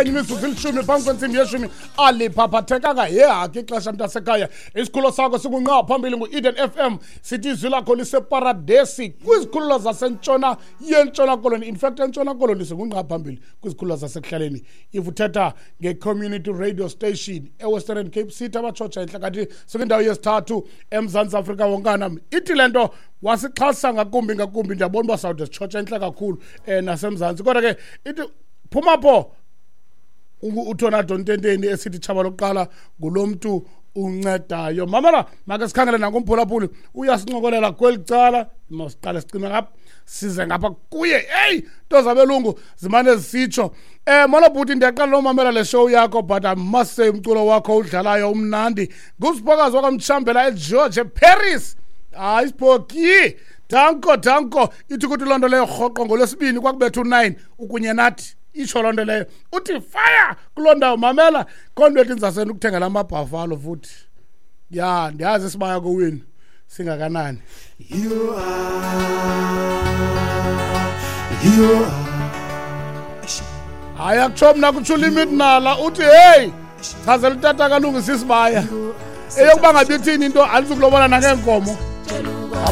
Imizuzu ilishumi phambi kwentsimbi yeshumi. Aliphaphathekanga yehaki ixesha, mntasekhaya. Isikhululo sakho sikunqa phambili ngu-Eden FM. Sithi izwi lakho liseparadesi kwizikhululo zasentshona yeNtshona Koloni. In fact, eNtshona Koloni singunqa phambili kwizikhululo zasekuhlaleni. If uthetha nge-community radio station eWestern Cape City, abatshotsha entle, kanti sikwindawo yesithathu eMzantsi Afrika wonkana. Ithi le nto wasixhasa ngakumbi ngakumbi. Ndiyabona uba sawude sitshotsha entle kakhulu naseMzantsi, kodwa ke ithi phuma pho uTornado Ntenteni esithi tshaba lokuqala ngulo mntu uncedayo. Mamela, make sikhangele nankumphulaphuli uyasincokolela kweli cala. Masiqale sicime ngapha, size ngapha kuye. Eyi, nto zabelungu zimane zisitsho. Molo bhuti, ndiyaqala lomamela le show yakho, but I must say umculo wakho udlalayo umnandi. Ngusiphokazi wakamtshambela eGeorge Paris. Hayi siphoki, danko danko. Ithi kuthi loo nto leyo rhoqo ngolwesibini kwakubetha u-9 ukunye nathi. Itsho loo nto leyo uthi fire kuloo ndawo. Mamela, khona ethi ndizasenda ukuthengela amabhafalo futhi. Ya, ndiyazi isibaya kowenu singakanani. You are, you are. Hayi, akutsho mna, kutsho uLimit Nala. Uthi heyi, chazela utata kalungisa isibaya eyokuba ngabe ithini into, andizukulobola nangeenkomo.